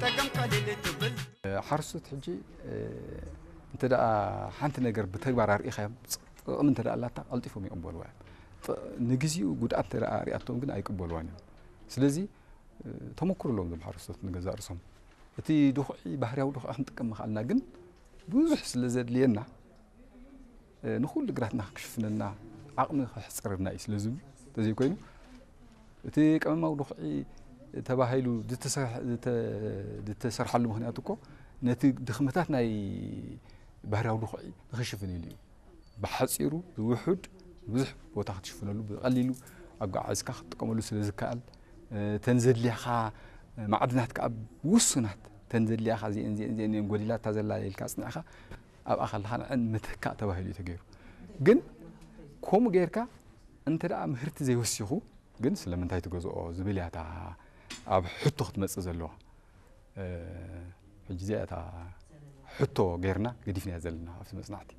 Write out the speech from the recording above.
ጠቀም ቀሊል ትብል። ሓረስቶት ሕጂ እንተ ደኣ ሓንቲ ነገር ብተግባር ኣርኢኻዮም፣ ጥቕሚ እንተ ደኣ ኣላታ ቀልጢፎም ይቕበልዋ እዮም። ንግዜኡ ጉድኣት እንተ ደኣ ኣርኣያቶም ግን ኣይቅበልዋን እዮም። ስለዚ ተመኩሮ ኣለዎም እዞም ሓረስቶት ንገዛእ ርእሶም። እቲ ድኹዒ ባህርያዊ ድኹዒ ክንጥቀም ምኽኣልና ግን ብዙሕ ስለ ዘድልየና፣ ንኹሉ ግራትና ክሽፍነልና ዓቕሚ ክሕፅረና እዩ ስለ ዝብሉ፣ እንተዘይኮይኑ እቲ ቀመማዊ ድኹዒ ተባሂሉ ዝተሰርሓሉ ምኽንያት እኮ ነቲ ድኽመታት ናይ ባህርያዊ ድኹዒ ንኽሽፍን ኢሉ እዩ። ብሓፂሩ ዝውሑድ ብዙሕ ቦታ ክትሽፍነሉ ብቐሊሉ ኣጓዓዝካ ክትጥቀመሉ ስለ ዝከኣል፣ ተን ዘድልያኻ ማዕድናት ከዓ ውሱናት፣ ተን ዘድልያኻ እዚአን እዚአን እዚአን እየን ጎዲላታ ዘላ ኢልካ ኣፅኒዕኻ ኣብኣ ከለኻ ንዐን ምትካእ ተባሂሉ እዩ ተገይሩ። ግን ከምኡ ጌርካ እንተ ደኣ ምህርቲ ዘይወሲኹ ግን ስለምንታይ ትገዝኦ ዝብል እያ እታ ኣብ ሕቶ ክትመጽእ ዘለዋ። ሕጂ እዚኣ እታ ሕቶ ጌርና ገዲፍናያ ዘለና ኣብቲ መጽናዕቲ።